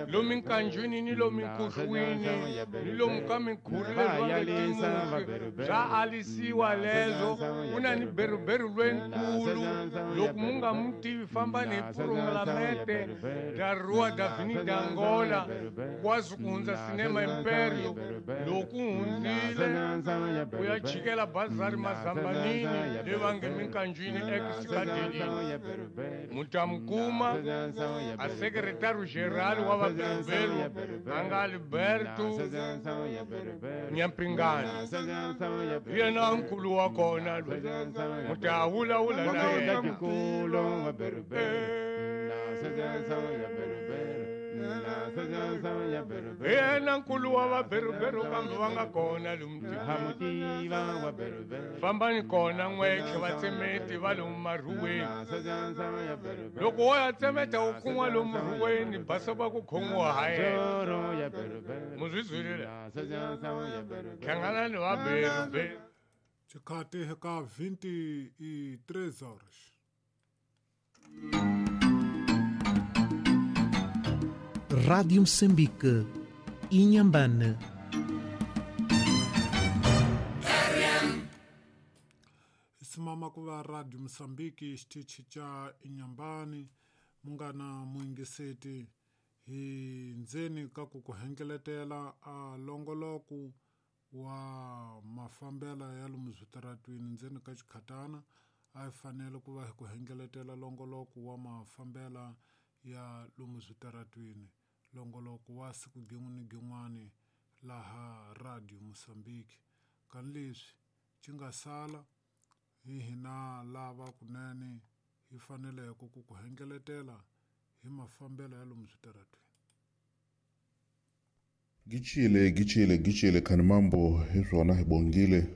Lomu nkanjwini ni lomu nkuhlwini ni lomu ka minkhuri leswi va nge timusi swa alisiwa leswo. Ku na ni beruberu lwenkulu loko mu nga mu tivi fambani hi purungulamete da Rua da Avenida Angola kwasi ku hundza Cinema Império loko u hundzile u ya chikela bazari Mazambanini le va nge minkanjwini ex-Cadelini mutamukuma a secretário geral wa vaberuberu a nga Alberto Nyampingani hi yena nkulu wa kona loyi muta vulavula na yena. Hi yena nkulu wa vaberuberu kambe va nga kona lomu fambani kona n'wexe vatsemeti va lomu marhuweni loko wo ya tsemeta u kun'wa lomu rhuweni basa va ku khomiwa ha yena muzwi zwilile hlanganani va beruberu. Xikati ka 23 horas. Rádio Moçambique, Inhambane. Simama ku va Radio Moçambique xitichi xa Inhambane munghana muyingiseti hi ndzeni ka ku ku hengeletela a longoloko wa mafambela ya lomu switaratwini ndzeni ka xikhatana a hi fanele ku va hi ku hengeletela longoloko wa mafambela ya lomu switaratwini longoloko wa siku gin'we ni gin'wani laha Radio Moçambique kani leswi xi nga sala hi hina lava kunene hi faneleke ku ku hengeletela hi mafambelo ya lomu switaratwini. Gichile gichile gichile khani mambo hi swona hi bongile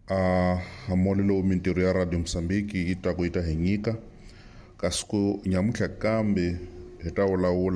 a hamole lowu mintirho ya Radio Moçambique yi ta ku yi ta hi nyika kasi ku nyamuntlha kambe hi ta vulavula.